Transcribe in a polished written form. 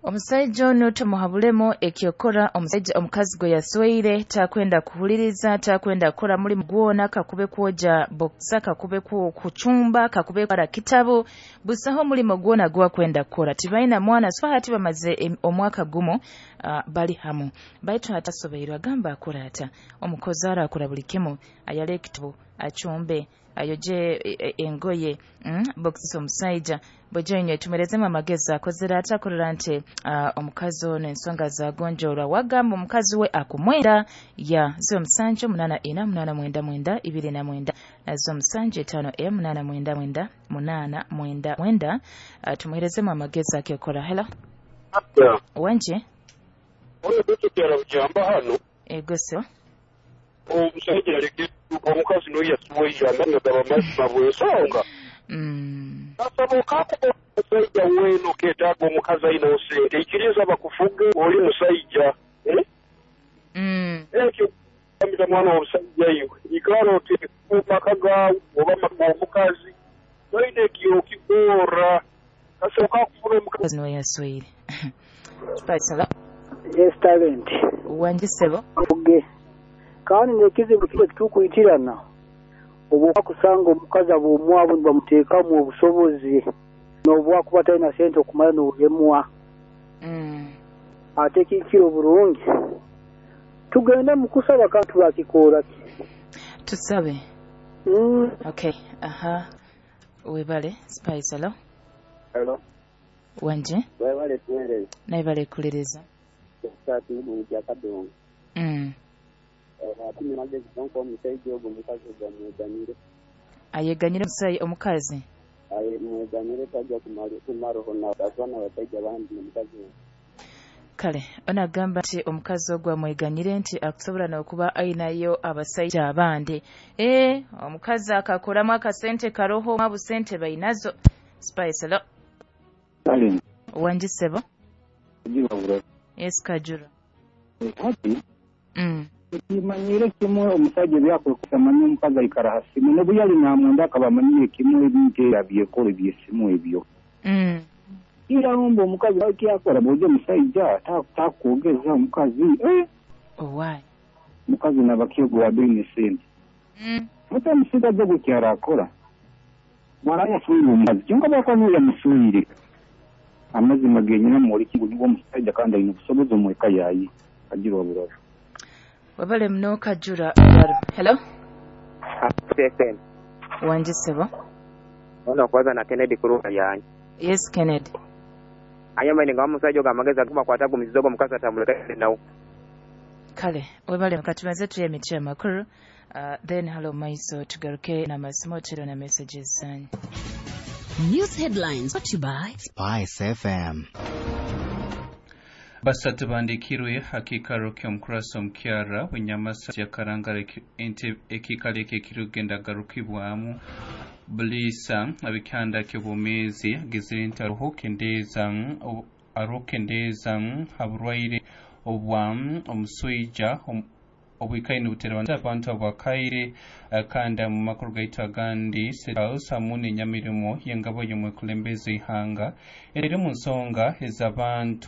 Omusaija onu tumuhabulemu ekyokora. Omusaija omukazi gwe yasweire takwenda kuhuliriza, takwenda kukora mulimu gwona, kakube kwoja bokisa, kakube kucumba, kakube kwara kitabu, busaho omulimo gwona gwakwenda kukora. Tibaina mwana, so hati bamaze omwaka gumu bali hamu, baitu hatasobeirwe. Agamba akora ata? Omukozi arakora buli kimu, ayale ekitabu, acumbe, ayoje engoye, bokisa. Omusaija bwejoinywe tumerezemu amagezi, akozere ata akorera nti omukazi ono ensonga zagonjorwa? Wagamba omukazi we akumwenda ya 07 84 899 29 na 07 5 8 9 9 8 9. Tumuherezemu amagezi akyokora. Hello. Wanje. Hano. Ego sebo. Omusajja aleke omukazi noyasuweire amagaba mazima bwensonga. Asaba okakuba omusajja weno ketaaga omukazi ayinawo sente, ikiriza bakufuge, oli musajja. Ekyo gambira mwana w'omusajja, iwe ikara oteeke maka gaawe oba maka g'omukazi, toine ekyokikora kase okakufuna omukazi noyasweire. Yes, talent. Wanje sebo. Fuge. Kandi nekizibu kiba kitukuyitirana oba kusanga omukazi ab'omwabo nibamuteekamu obusobozi n'obwakuba talina sente okumala n'obulemwa. Ate kikiro oburungi tugende mu kusaba kandi tubakikoora ki? Tusabe. Okay, aha, webale. Spice, hello. Hello. Wanje. Webale kuweereza. Naibale kuliriza. Saati mu Kadongo. Ati magezi gonka omusajja ogwo omukazi ogwo amweganyire. Ayeganyire omusajja omukazi? Aye, mweganyire, tajja kumaraho abaana basajja bandi omukazi we. Kale onagamba nti omukazi ogwo amweganyire, nti akusobola n'okuba ayinayo abasajja abandi. Omukazi akakoramu akasente karoho, busente bainazo. Spice, hello. Talent. Wanje sebo. Kajura. Yes, Kajura. Hati kimanyire kimwe, omusajja ebyakwekusa manyi omukazi aikara ha simu, nobu yali namwenda akaba amanyire kimwe ebintu ebyekora ebyesimu ebyo. Irarumba omukazi akyakora bwoja omusajja takwogeza omukazi. Owai. Omukazi nabakyogo wabeine sente. Ate omusigazi ogwo kyarakora bwara yaswire omukazi, kyonka bwakuba niwe yamuswire, amazima genyina mwoleki ngu niwe omusajja kandi aine obusobozi omweka yaye. Kajura buraro. Wabale mno, Kajura buraro. Hello. FM. Wanje sebo. Ono kwanza na Kennedy kuruka yanyu. Yes, Kennedy. Anyama ni ngwa musajja oga amagezi aguma kwata gumizizo ogo omukazi atamuleka nawo. Kale webale, katumaze tuye emiti amakuru, then hello maiso tugaruke na masimu tero na messages zanyu. News headlines brought to you by Spice FM. 3 bandikirwe hakikaro ky'omukurasa omukyara w'enyamasa yakarangara ekikalo eki ekirikugenda garukibwamu buliisa abikyanda ky'obwomeezi agizire nti aroho kendeeza haburwaire obwa omuswija obwikaine nibutera abantu abakaire. Kandi mu makuru gaitu agandi, State hamu n'enyamirimo y'engabo y'omwekulembeze ihanga eri mu nsonga ez'abantu.